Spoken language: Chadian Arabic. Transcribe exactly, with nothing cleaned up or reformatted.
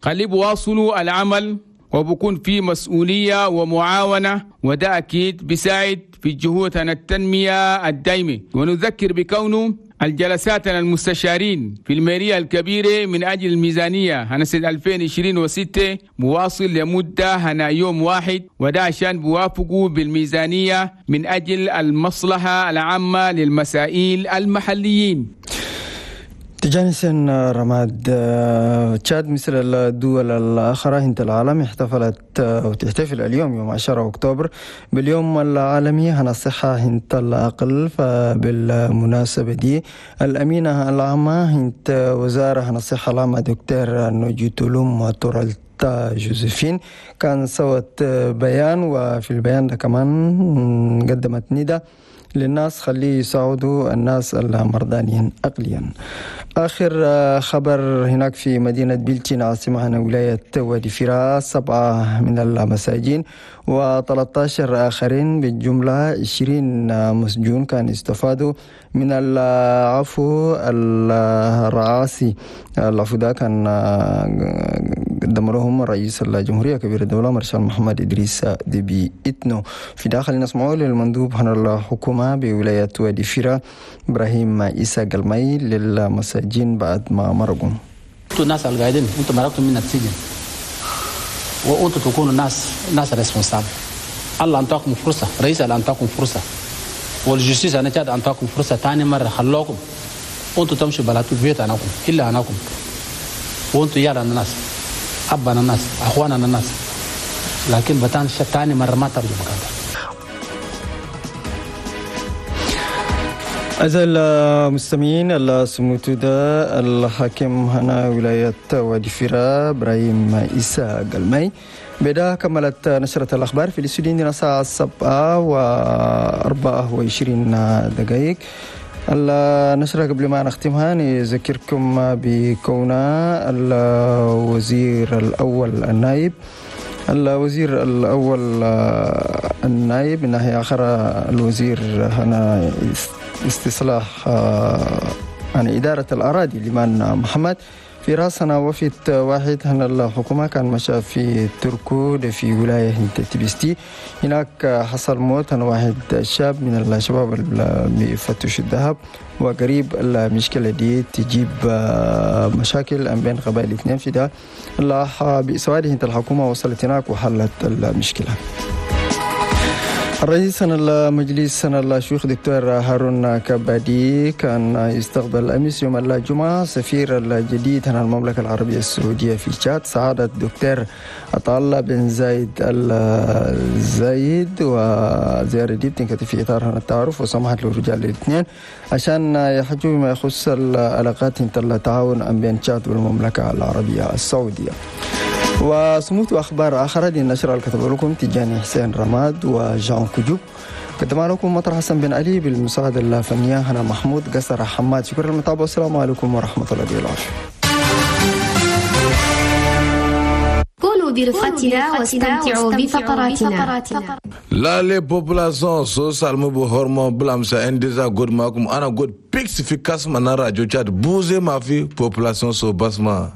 خلي بواصلوا العمل وبكون في مسؤولية ومعاونة، وده أكيد بيساعد في جهود التنمية الدائمة. ونذكر بكونه الجلسات المستشارين في المالية الكبيرة من أجل الميزانية هنا سنة ألفين وعشرين وستة مواصل لمدة هنا يوم واحد، وده عشان بوافقوا بالميزانية من أجل المصلحة العامة للمسائل المحليين. تجانسن رماد، تشاد مثل الدول الأخرى هنت العالم احتفلت وتحتفل اليوم يوم عشرة أكتوبر باليوم العالمي هنا الصحة هنت العقل. فبالمناسبة دي الأمينة العامة هنت وزارة هنا الصحة العامة دكتور نوجيتولوم تورالتا جوزيفين كان سوت بيان، وفي البيان ده كمان قدمت نداء للناس خليه يساعدوا الناس المرضانين عقليا. آخر خبر هناك في مدينة بلتين عاصمة هنا ولاية وادي فراس، سبعة من المساجين وثلاثة عشر آخرين بالجملة عشرين مسجون كان استفادوا من العفو الرئاسي. العفو ده كان قدم لهم رئيس الجمهورية كبير الدولة مارشال محمد إدريس ديبي إتنو. في داخل نسمعه للمندوب هنا الحكومة بولاية وادي فيرا إبراهيم إيسا قلمي للمساجين بعد ما مرقوا. انتوا الناس القاعدين انتوا مرقتوا من السجن وانتوا تكونوا ناس ناس responsables. الله انطاكم فرصة، رئيس الله انطاكم فرصة، وال justice انا تاد انطاكم فرصة ثاني مرة خلوكم وانتوا تمشوا بلاتو بيت اناكم الا اناكم، وانتوا يالا الناس ابانا الناس اخوانا الناس، لكن بتان ثاني مرة ما ترجعوا مكانك. أعزائي المستمعين، السموت ده الحاكم هنا ولاية وادي فيرا إبراهيم إيسا قلمي. بدا كملت نشرة الأخبار في الاستوديو عندنا الساعة سبعة وأربعة وعشرين دقائق. النشرة قبل ما نختمها نذكركم بكون الوزير الأول النائب الوزير الأول النائب من ناحية أخرى الوزير هنا استصلاح عن إدارة الأراضي لمن محمد في راسنا وفد واحد هنا الحكومة كان مشى في تركو في ولاية تبستي. هناك حصل موت هنا واحد شاب من الشباب اللي بيفتش الذهب، وقريب المشكلة دي تجيب مشاكل بين قبائل الاثنين. في ده بسواده الحكومة وصلت هناك وحلت المشكلة. الرئيس المجلس الشيوخ دكتور هارون كبادي كان يستقبل أمس يوم الجمعة سفير الجديد عن المملكة العربية السعودية في تشاد سعادة الدكتور عطا بن زايد الزايد، وزيارة دي بتنكتب في إطار التعارف وسمحت للرجال الاثنين عشان يحجوا بما يخص العلاقات التعاون بين تشاد والمملكة العربية السعودية. وسموت أخبار آخرى دي النشرة اللي كتب لكم تجاني حسين رماد وجان كجوب، قدم لكم مطر حسن بن علي بالمساعدة الفنية هنا محمود قصر حماد. شكرا للمتابعة والسلام عليكم ورحمة الله وبركاته. كونوا برفقتنا واستمتعوا بفقراتنا. لا les populations sociales مبو هرمون بلامسا انديزا قد معكم أنا قد بيكس في كاسما نرى جو تشاد بوزي ما في population سو بسما.